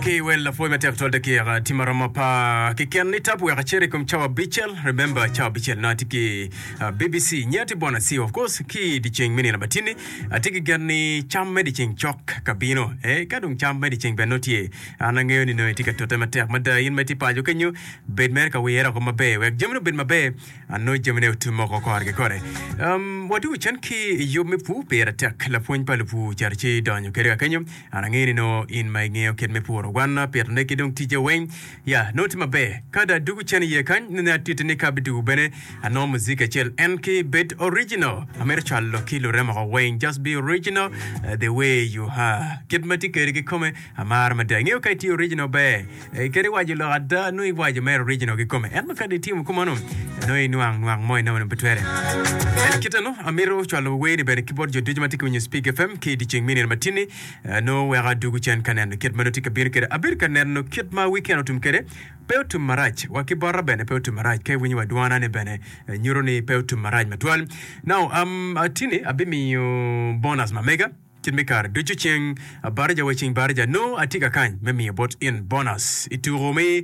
Ki wel lapwony matek twal dakika tye maromo apar keken ni tap wek acit i kom cawa abicel. Remember cawa abicel nongo atye ki uh, BBC nyo atye Bwana Siwa of course ki i dyeceng me nino matini. Atye ki gen ni cam me dyeceng cok ka bino. Eh, ka dong cam me dyeceng bene nongo tye, an angeyo ni nongo itye ka tute matek mada in ma itye paco kenyo bed mere ka wire oko maber wek jamine obed maber. Anongo jamine otum oko kore ki kore. Um, wadwogo cen ki i yub me pur pire tek. Lapwony pa lupur ocito ci donyo kede ka kenyo. An angeyo ni nongo in ma ingeyo kit me puro gwanna, pitone ki dong ticce weng. Ya, nongo tye maber. Ka dong adwogo cen iye kany, nongo atiti ni ka abidwogo bene anongo muziki acel en ki bed original. Amito cwalo ki lurem oko weng. Just be original uh, the way you are. Kit ma tye kede kikome, amaro mada. Ingeyo ka itye original ber. Kadi iwaco lok ada, nongo iwaco mere original kikome. Ento kadi itimo kumeno, nongo inwang nwang mo inongo pe twere. En kite no, amito cwalo wer-ni bene ki bot jo ducu ma tye ka winyo Speak FM ki i dyeceng me nino matini. Nongo weko adwogo cen ka neno kit ma nongo tye ka bino kwede. Abedo ka neno kit ma weekend otum kwede. Pe otum marac, wa ki bota bene pe otum marac. Ka iwinyo wa dwana-ni bene nyuto ni pe otum marac matwal. Now, um, atini abimiyo bonus ma mega. Kit me kare ducu ceng batija wa ceng batija nongo atye ka kany me miyo bot in bonus i tuko me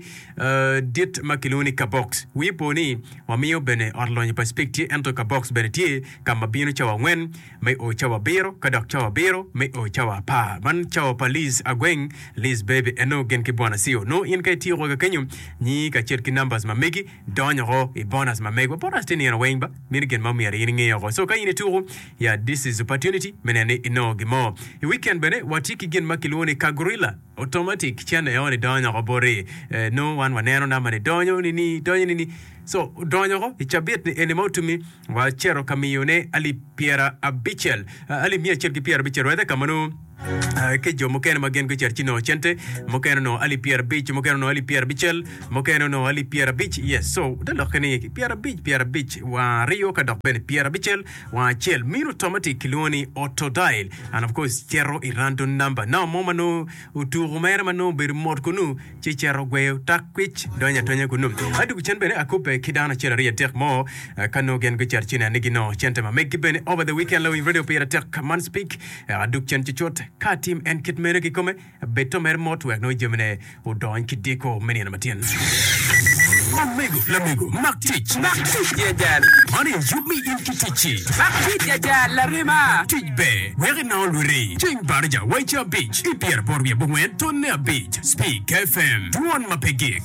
dit ma kilwongo ni Kabox. Wii po ni wamiyo bene ot lonyo pa Speke tye ento Kabox bene tye ka ma bino cawa angwen me o cawa abiro ka dok cawa abiro me o cawa apar. Man cawa pa Liz Agweng, Liz Baby eno gin ki Bwana Sio. Nongo in ka ityeko ka kenyo nyingi kacel ki numbers ma megi donyo oko i bonus ma megwa. Bonus tye nino weng ba meno gin ma omyero in inge oko. So ka in ituko Ya this is opportunity me neno ni inongo gin mo. I weekend bene watye ki gin ma kilwongo ni Kagurilla automatic cene eo ni donyo oko boti. Eh, nongo wan waneno namba ni donyo ni ni donyo ni ni. So donyo oko i cabit ni eni ma otumi wacito ka miyo ne alip pyera abicel, eh, alip miya acel ki pyera abicel rather ka ma nongo eh, ki jo mukene ma gin gucito ci nongo cente, mukene onongo alip pyerabic, mukene onongo alip pyerabicel, mukene onongo alip pyerabic. Yes, so te lokke ni pyerabic, pyerabic, wang aryo ka dok bene pyerabicel. Wang acel mino automatic kilwongo ni auto dial and of course cito i random number. Namba mo ma nongo otuko mere ma nongo obedo mot kunu ci cito gweyo tak kwic donyo adonya kunu. Adwogo cen bene akubbe ki dano acel aryo adek mo eh, ka nongo gin gucito ci neno ni ginongo cente ma meggi bene over the weekend lawiny radio pire tek man speak eh, adug cen cucut ka atim en kit meno kikome. Bed to mere mot wek nongo jamine odony ki diko me nino matin. Omego, lamego, mak tic. Mak tic ya jal. Man aye yub me in ki ticci. Mak tic ya jal, larema. Tic ber wek inongo lwiti. Ceng baraja wa i ca abic ki pyeraboro wiye abongwen tonne abic. Speak FM, dwon ma pe gik.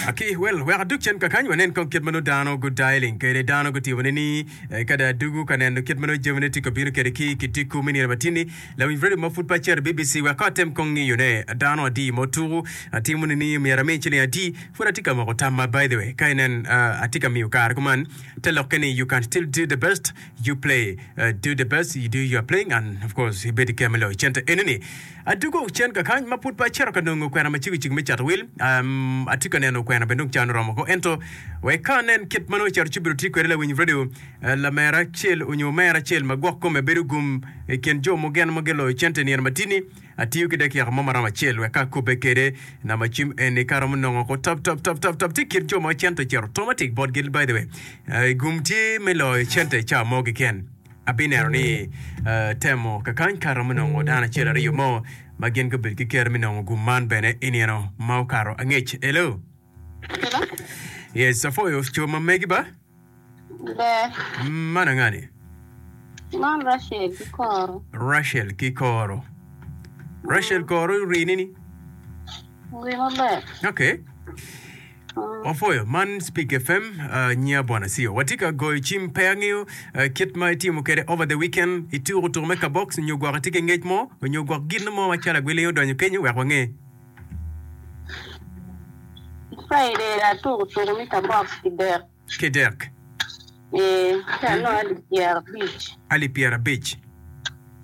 Aki, well, wek adug cen kakany wanen kong kit ma nongo dano gudialing kwede. Dano gutimo ni ni eh, ka dong adugu ka neno kit ma nongo jamine tye ka bino kwede ki kitiku me nino matini. Lawiny radio ma pud pe acito i BBC wek kong atem kong ngiyo ne dano adi ma otuku. Atimo ni ni myero ami ciling adi. Pud atye ka moko tamma by the way. Ka inen uh, atye ka miyo kare kuman te lokke ni you can still do the best you play uh, do the best you do your playing and of course ibedo ki me loyo cente enini. Adugo cen kakany ma pud pe acito ka nongo kwena macego cego me cato wil. Um, atye ka neno kwena bene dong can oromo ko ento wek ka anen kit ma nongo cito ci obedo tye kwede lawiny radio uh, lamera acel onyo omera acel ma gwok kome bedo gum i kin jo mugen ma giloyo cente nino matini atiyo ki dakika mo maromo acel wek ka akubbe kwede namba cim eni ka aromo nongo ko tap tap tap tap tap tye i kin jo ma cente ocito automatic botgi by the way uh, gum tye me loyo cente i cawa mo keken. Abineno ni temo kakany ka aromo nongo dano acel aryo mo ma gin gubedo ki kero me nongo gum man bene i nino ma okato angec. Hello. Hello. Yes, apwoyo co ma megi ba. Ber. Man angani? Man Rachel ki Koro. Rachel ki Koro. Rachel Koro rini ni? Ri maber. Okay. Wapwoyo, man Speak FM, nyinga Bwana Sio. Watye ka goyo cim, pe angeyo kit ma itimo kwede over the weekend, ituko tuko me kabox nyo gwok itye ki ngec mo, nyo gwok gin mo macalo agwilingi odonyo kenyo wek wange. Friday atuko tuko me kabox kidek. Kidek. Ee, ci anongo alip pyerabic. Alip pyerabic.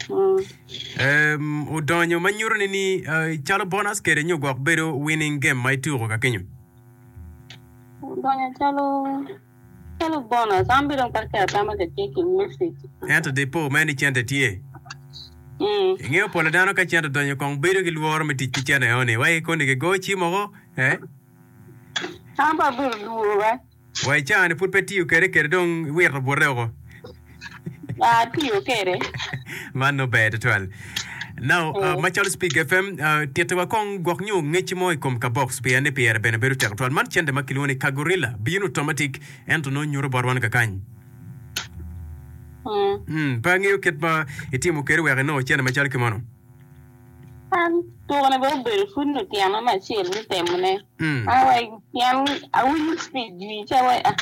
Mm. Odonyo ma nyuto ni ni calo bonus kede nyo gwok bedo winning game ma ituko ka kenyo. Odonyo calo calo bonus. An bene dong pe aketo atama ka tye ki message. Ento di po mere ni cente tye. Mm. Ingeyo pol pa dano ka cente odonyo kong bedo ki lworo me tic ki cente eno ni. Wai koni kigo cim oko, eh? An pe abedo lworo ba. Wa i caa-ni pud pe itiyo kede kede dong iwito bute woko. Atiyo kede. Man nongo ber tutwal. Now, uh, macalo Speak FM, uh, tittiwa kong gwok nyo ngecci mo i kom kabox pien ni pire bene bedo tek tutwal. Man cente ma kilwongo ni Kagorilla bino automatic ento nongo nyuto bot wan kakany. Mm, pe angeyo kit ma itimo kwede wek inongo cente macalo ki mono. An tukone bene obedo pud nyo tyena me acel me temone. An wai pien awinyo speech jwi ca wai ah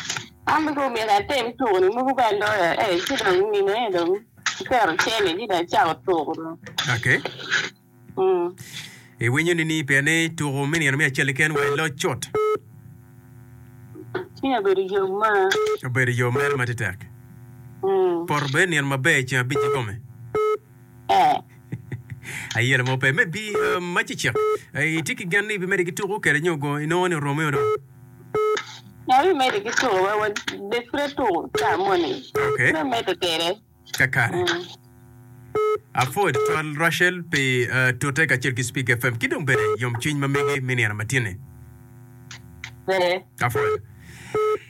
an bene kong myero atem tukoni mogo ka aloyo eh ci dong mine dong aketo cene ci dong acako tuko dong. Okay. Mm. Iwinyo nini pien ni tuko me nino me acel keken wa iloc cut? Cwinya obedo yom ma. Obedo yom mere ma tetek. Mm. Poto bene nino maber i ceng abic kikome. Eh. Ayela mo pe me bi ma cicik. Itye ki gen ni ibimedde ki tuko kede nyo go inongo ni oromi o dong? Abimedde ki tuko wa wa bed pud atuko ca moni. Okay. Pud amedde kede. Kakare. Apwoyo tutwal Rachel pi tute kacel ki Speak FM ki dong bene yomcwiny ma megi me nino matinni. Ber. Apwoyo.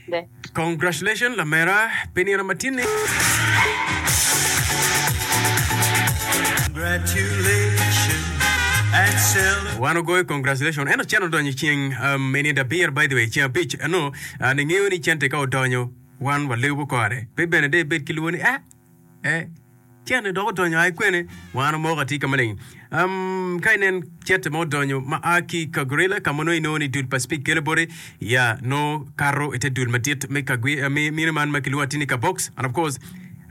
Ber. Congratulations lamera pi nino matinni. Wan ogoyo congratulation ento cen odonyo ceng um, i nindo abiro by the way ceng abic ano uh, ningeyo ni cente ka odonyo wan walubo kore pe bene de ibed ki lwor ni eh eh Cente dok odonyo aye kwene? Wan omoko atir ka maleng. Um, ka inen cente ma odonyo ma a ki i Kagurila, ka ma nongo inongo ni dul pa Speke kelo boti, ya, nongo kato i te dul madit me Kagwi, eh, me mino man ma kilwongo atir ni Kabox. And of course,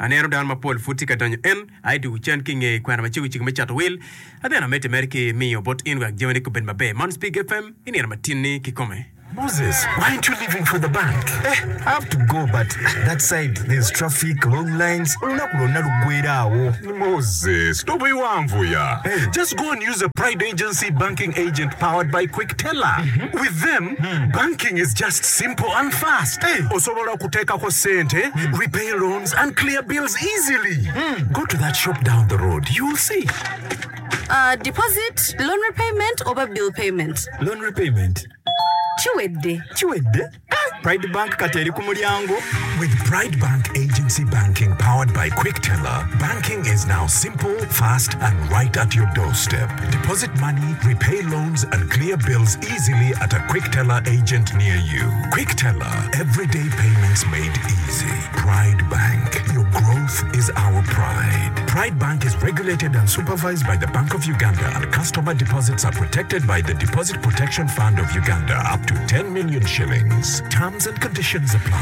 aneno dano mapol pud tye ka donyo en aye dwogo cen ki i nge kwena macego cego me cato wil. Aden amedde mere ki miyo bot in wek jamini gubed maber. Man Speke FM i nino matin-ni kikome. Moses, why aren't you leaving for the bank? Eh, I have to go but that side there's traffic, long lines, olunaku lwonna luggwera awo. Moses, tobiwanvuya. Hey. Just go and use a Pride Agency banking agent powered by Quickteller. With them, banking is just simple and fast. Hey. Osobola okuteekako ssente, repay loans and clear bills easily. Go to that shop down the road, you'll see. Uh, deposit, loan repayment oba bill payment? Loan repayment. Kiwedde. Kiwedde? Pride Bank kati eri ku mulyango. With Pride Bank Agency Banking powered by Quickteller, banking is now simple, fast, and right at your doorstep. Deposit money, repay loans, and clear bills easily at a Quickteller agent near you. Quickteller, everyday payments made easy. Pride Bank, your growth is our pride. Pride Bank is regulated and supervised by the Bank of Uganda, and customer deposits are protected by the Deposit Protection Fund of Uganda up to 10 million shillings. Terms and conditions apply.